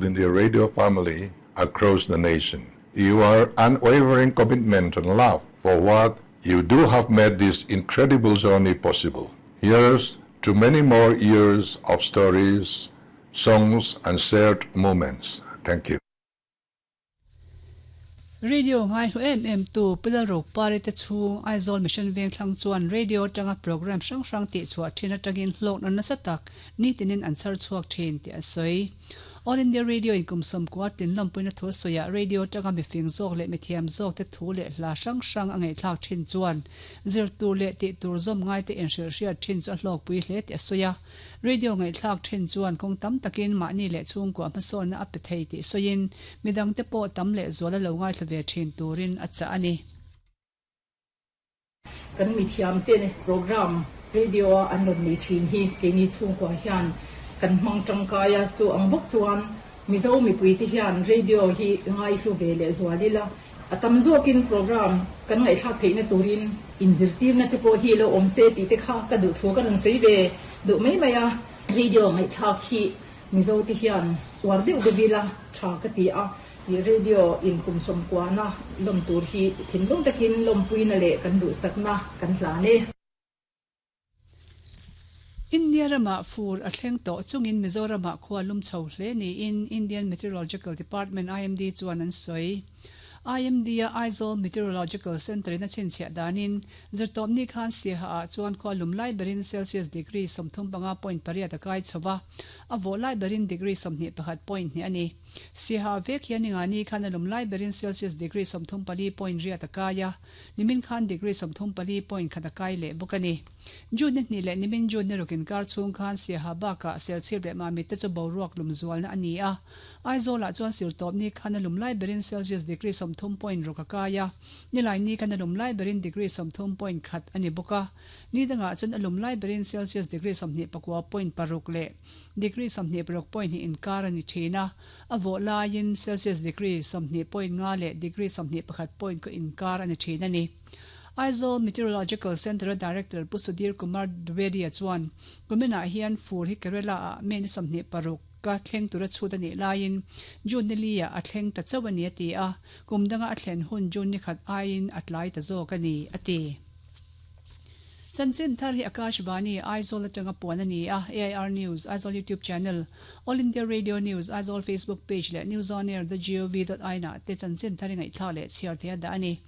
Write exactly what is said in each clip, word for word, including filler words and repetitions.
India Radio family across the nation. Your unwavering commitment and love for what you do have made this incredible journey possible. Here's to many more years of stories, songs, and shared moments. Thank you. Radio ngai hlu em em tu Pilal Ro Pari te chhung Aizawl Mission Veng thlang chuan radio atanga program hrang hrang tih chhuah thin atangin hlawk na nasa tak nitinin an chhar chhuak thin tih a sawi. All India Radio in kum sawmkua tin lawmpuina thu sawiah radio atanga mifing zawk leh mithiam zawk te thu leh hla hrang hrang a ngaihthlak thin chuan zir tur leh tih tur zawm ngai te inhrilh hriat thin chu a hlawkpui hle tih a sawi a. Radio ngaihthlak thin chuan kawng tam takin mahni leh chhungkua hmasawnna a pe thei tih sawiin midang te pawh tam leh zual a lo ngaithla ve thin turin a chah a ni. Kan mithiam te program radio a an rawn nei thin hi keini chhungkua hian kan hmang tangkai a, chu ang bawk chuan Mizo mipui te hian radio hi ngai hlu ve leh zual ila, a tam zawkin program kan ngaihthlak theihna turin inzirtirna te pawh hi lo awm se tih te kha ka duh thu ka rawn sawi ve duh mai mai a. Radio ngaihthlak hi Mizo te hian uar deuh deuh ila tha ka ti a, radio in kum sawmkuana lawm tur hi thinlung takin lawmpuina leh kan duhsakna kan hlan e. India rama fur a thleng tawh chungin Mizorama khua lum chho hle niin Indian Meteorological Department I M D chuan an sawi. I M D a Aizawl Meteorological Centre in a chhinchhiah danin zirtawpni khan Siaha ah chuan khua lum lai berin Celsius degree sawmthum panga point pariat a kai chho va, a vawh lai berin degree sawmhnih pakhat point hnih a ni. Siaha vek hian ningani khan a lum lai berin Celsius degree sawmthum pali point riat a kai a, nimin khan degree sawmthum pali point khat a kai leh bawk a ni. June ni hnih leh nimin June ni rukin kar chhung khan Siaha bakah Serchhip leh Mamit te chu boruak lum zualna a ni a. Aizawlah chuan sirtawpni khan a lum lai berin Celsius degree sawmthum point ruk a kai a, nilaini khan a lum lai berin degree sawmthum point khat a ni bawk a. Ni dangah chuan a lum lai berin Celsius degree sawmhnih pakua point paruk leh degree sawmhnih paruk point hnih inkar a ni thin a, a vawh laiin Celsius degree sawmhnih point nga leh degree sawmhnih pakhat point ko inkar a ni thin a ni. Aizawl Meteorological Centre Director Pu Sudhir Kumar Dwivedi chuan kuminah hian fur hi Kerala ah May ni sawmhnih paruk ka thleng tura chhut a nih laiin June ni li ah a thleng ta chauh a ni a ti a, kum danga a thlen hun June ni khat aiin a tlai ta zawk a ni a ti. Chanchin thar hi Akashvani Aizawl atanga puan a ni a, A I R News, Aizawl YouTube channel, All India Radio News, Aizawl Facebook page leh News On Air dot gov dot in ah te chanchin thar hi ngaihthlak leh chhiar thei a dah a ni.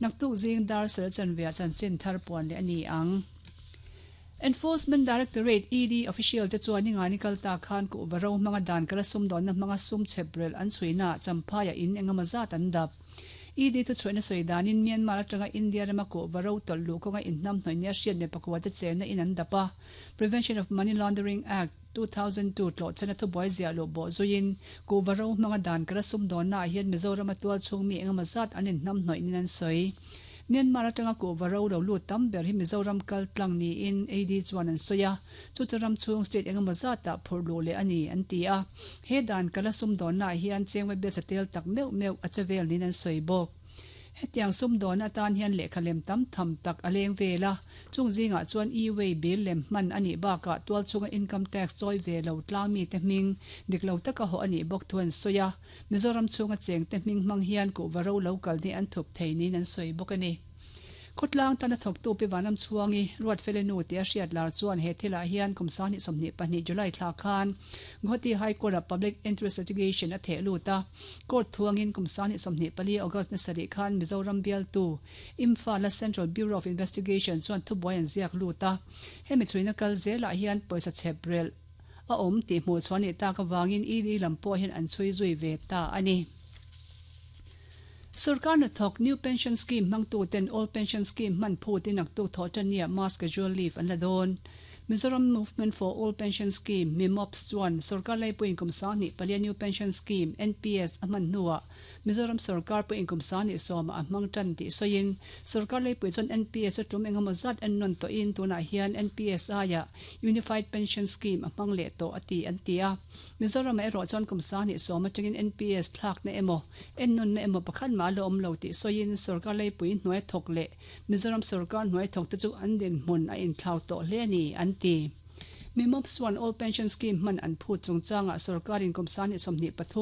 Naktuk zing dar sel chanveah chanchin thar puan leh a ni ang. Enforcement Directorate E D official te chuan ningani kalta khan ku varo hmanga dan kala sum dawnna hmanga sum chheprel an chhuina champhaiah in engemaw zat an dap. E D thu chhuahna sawi danin Myanmar atanga India rama ku varo tawlh kawnga inhnam hnaih nia hriat me pakua te chenna in an dap a. Prevention of Money Laundering Act two thousand two tlo chena thu buai zia lo bo zuin ku varo hmanga dan kala sum dawnna ah hian Mizoram a tual chhung mi engemaw zat an inhnam hnaih nin an sawi. Myanmar atanga ku varo lo lut tam ber hi Mizoram kal tlang niin A D chuan an sawi a, chu chu ram chhung state engemaw zatah phurh luh leh a ni an ti a. He dan kala sum dawnna ah hian chengwai bel chatel tak meuh meuh a chevel nin an sawi bawk. Hetiang sum dawnna atan hian lehkha lem tam tham tak a leng vel a, chung zingah chuan e-way bill lem hman a nih bakah tual chunga income tax chawi ve lo tlang mi te hming dik lo taka haw a nih bawk thu an sawi a. Mizoram chhunga cheng te hming hmang hian ku varo lo kal ni an thup thei nin an sawi bawk a ni. Khawtlang tana thawktu pi vanam chhuangi Ruat Felenu tia hriat lar chuan he thilah hian kum sang hnih sawmhnih pahnih July thla khan Guwahati High Court a Public Interest Litigation a theh lut a. Court thuangin kum sang hnih sawmhnih pali August na sarih khan Mizoram bialtu Imphal a Central Bureau of Investigation chuan thubuai an ziak lut a. Hemi chhuina kal zelah hian pawisa chheprel a awm tih hmuh chuan ni tak awangin E D lam pawh hian an chhui zui ve ta a ni. Sarkar na thawk New Pension Scheme hmangtu ten Old Pension Scheme hman phutin aktuk thaw tania mass casual leave an la dawn. Mizoram Movement for Old Pension Scheme MIMOPS chuan sarkar laipui inkum sang hnih palia New Pension Scheme N P S a hman hnuah Mizoram sarkar pui inkum sang hnih sawma a hmang tan tih sawiin sarkar laipui chuan N P S a tum engemaw zat en nawn tawhin tunah hian N P S aia Unified Pension Scheme a hmang leh tawh a ti an ti a. Mizoram a erawh chuan kum sang hnih sawma tangin N P S thlak na emaw en nawn na emaw pakhat ma lo awm lo tih sawiin sarkar laipui hnuai thawk leh Mizoram sarkar hnuai thawk te chu an din hmun a inthlau tawh hle a ni an ti. Mi mop chuan Old Pension Scheme hman an phut chungchanga sarkarin kum sang hnih sawmhnih pathum